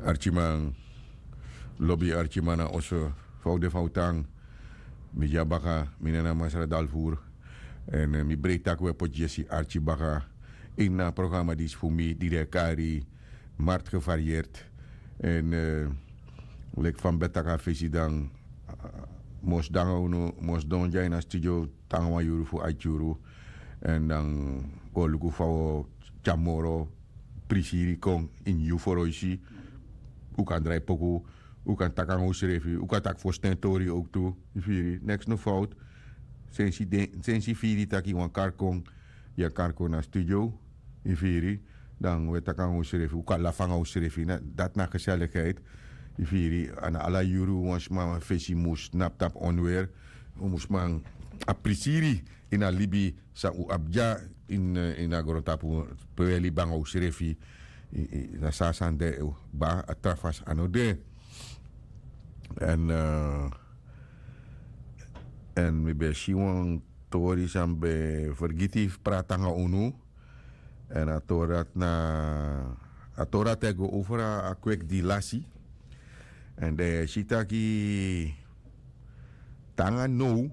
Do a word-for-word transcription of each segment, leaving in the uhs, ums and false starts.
Arkiman, lobi arkiman na oso, fa un de, fa un tan. Mi de ya baka, mi nen na Masra Dalvoer. Èn mi breiti taki un e poti yesi arki baka ini a programa disi fu mi di den e kari Markt Gevarieerd. Èn leki fa mi ben taki a fesi, dan mi o sidon nanga unu, mi o sidon dya ini a studio te nanga wan yuru fu aiti yuru. Èn dan un o luku fa un o tyari moro prisiri kon ini yu foroisi. Un kan drai poku, un kan taki nanga unsrefi, un kan taki fosten tori owktu. Yu firi, neks no fowtu. Sensi den, sensi firi taki wan kari kon, yu e kari kon na studio. Yu firi, dan un e taki nanga unsrefi, un kan lafu nanga unsrefi, dati na geselligheid. Yu firi, a no ala yuru wan sma fesi mus tnapu tapu onweri. Un mus man a prisiri ini a libi san un abi dya ini a grontapu, pe un e libi nanga unsrefi. Na so a sani de kba, a tra fasi a no de. Èn èn mi ben si wan tori san mi ben fergiti fu prati nanga unu. Èn a tori dati na, a tori dati e go over a kweki di lasi. Èn dan yu e si taki te nanga now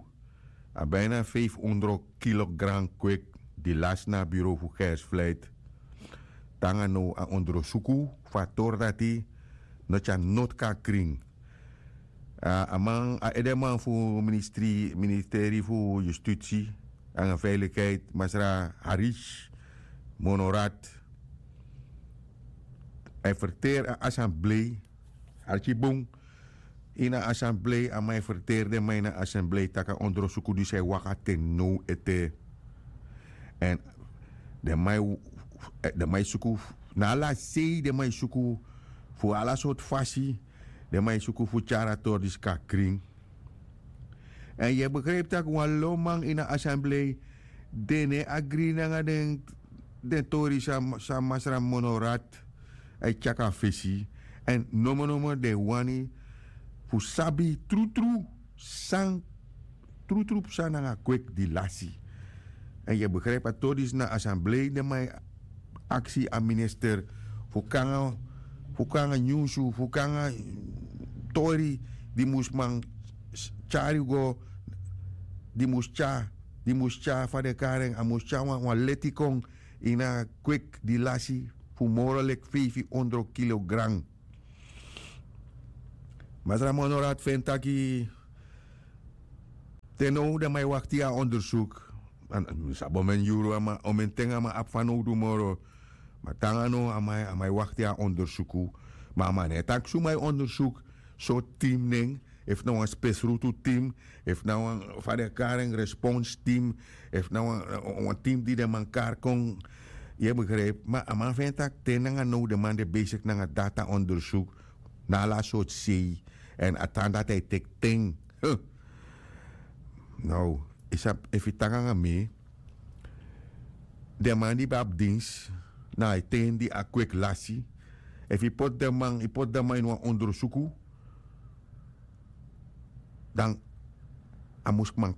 a bina feifi ondro kilogram kweki di lasi na a bureau fu Gers Vlijt. Te nanga now a ondrosuku fu a tori dati no tyari noti kon na krin. A man, a edeman fu ministri, ministeri fu Yustisi nanga Veiligheid, Masra Harish Monorat, a e ferteri a asamblei, arki bun, ini a asamblei, a man e ferteri den man ini a asamblei taki a ondrosuku disi e waka te now ete. Èn den man e, den man e suku, na ala sei den man e suku, fu ala sortu fasi den man e suku fu tyari a tori disi kon na krin. Èn yu e begripi tak' wan lo man ini a asamblei, den no e agri nanga den, den tori san, san Masra Monorat e tyari kon na fesi. Èn nomo nomo den wani fu sabi trutru san, trutru psa nanga kweki di lasi. Èn yu e begripi a tori disi na asamblei den man e aksi a minister fu kon nanga, fu kon nanga nyunsu, fu kon nanga tori di mus man tyari go, di mus tyari, di mus tyari, fa den kari en, a mus tyari wan, wan leti kon ini a kweki di lasi fu moro leki feifi ondro kilogram. Masra Monorat feni taki te now den man e wakti a ondersuku. Mi sabi omeni yuru a man, omeni ten a man abi fanowdu moro. Ma te nanga now a man, a man e wakti a ondersuku. Ma a man no e taki suma e ondersuku, sortu tim nen, efu na wan spesrutu tim, efu na wan, fa den kari en, respons tim, efu na wan, wan tim di den man kari kon. Yu e begripi, ma a man feni taki te nanga now den man de besigi nanga data ondersuku na ala sortu sei. Èn a tan dati e teki ten. Now, yu sabi, efu yu tan nanga mi, den man di ben abi dinsi na a ten di a kweki lasi, efu yu poti den man, yu poti den man ini wan ondersuku, dan a mus man